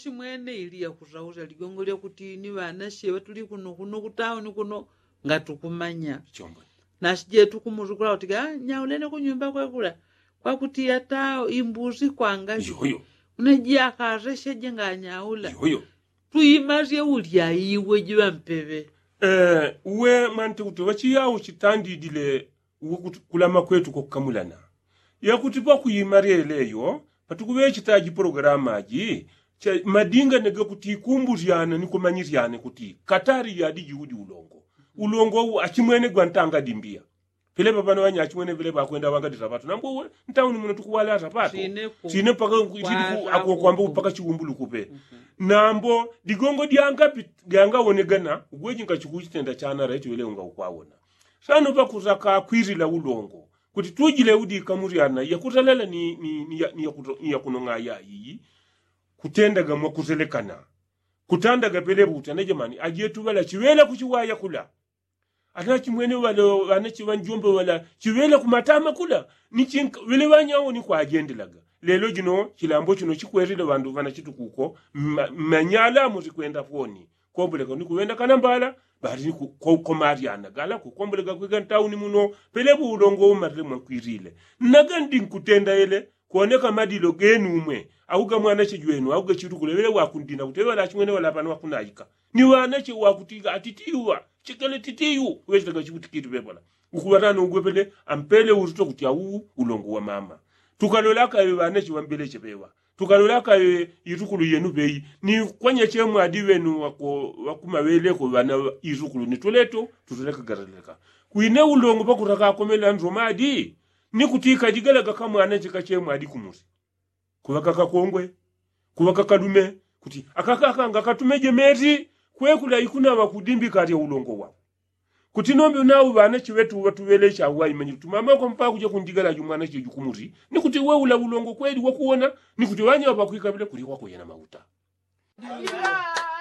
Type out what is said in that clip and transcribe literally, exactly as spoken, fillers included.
Chimwene ili yakusausya ligongo lyakuti ni ŵanasye ŵatuli kuno kuno kutauni kuno ngatukumanya. Nasi jetu kumuzukula kuti nyaulene kunyumba kwekula kwakuti yata imbusi kwanga. Yoyo. Uneji akasesyeje nganyaula. Yoyo. Tuimasye ulya iwe jiŵa mpeŵe. Uwe mwante kuti ŵachiyau chitandidile uwe kuti kulama kwetu kwakukamulana. Yakuti pakuima lyeleyo patukuŵechita jipologalamu aji cha madingane gakuti kumbusyana ni kumanyisyane kuti katali yadi jiudi ulongo. Ulongo uwu achimwene gwantanga dimbiya. Pelepa pano ŵanyachimwene pelepa akwenda ŵangadisa ŵatu nambo uwe ntauni muno tukuwala asapato. Sine mpaka akukwamba upaka chiwumbulukupe. Nambo digongo dyangawonegana ugweji ngachukuchitenda chanara ichiŵele unga ukwawona. Sano pakusaka kwilila ulongo kuti tujile udika muryana yakutalala ni yakunong'aya iyi. Kutendaga mwakutelekana kutandaga pelepa uti anajamani ajetu ŵala chiŵela kuchiwaya kula. Anachimwene ŵala ŵanachiŵanjombe ŵala chiŵela kumatama kula. Nichinka ŵele ŵanyawo ni kwajendelaga. Lelo jino chilambo chino chikwelile ŵandu ŵanachitukuko mmanyala musikwenda foni. Komboleka ni kuŵenda kanambala bali ni kukomalyana gala kukomboleka kwika ntauni muno. Pelepa ulongo umalile mwakwilile. Nagandi nkutenda ele kuoneka madilo genu umwe au ga mwanache jwenu au ga chitukule ŵele wakundina kuti ŵele achimwene ŵala pano wakunaika ni ŵanache wakutiga atitiwa chikele titiyu. Ŵechitaga chikutikili ŵepola ukuŵatana ugwe pele ampele uruto kuti au ulongo wa mama. Tukalola akaŵe ŵanache ŵambeleche ŵeŵa tukalola akaŵe itukulu yenu ŵeyi ni kwanya chemwadi ŵenu ŵakumaŵeleko ŵana itukulu ni tuleto tutuleka gataleka. Kwine ulongo pakutaka akomela ndromadi ni kuti kajigalaga kamwanache kachemwadi kumuli. Kuŵaka kakongwe kuŵaka kalume kuti akakaka ngakatumeje meti kwekula ikunaŵa kudimbi kalya ulongo wao. Kuti nombi unau ŵanache ŵetu ŵatuŵelecha uwaimanyile tumamako mpaka kuja kundigala jumwanache jukumuli ni kuti weula ulongo kweli wakuwona ni kuti ŵanyawo ŵakwikaŵile kuli wakuye na mauta.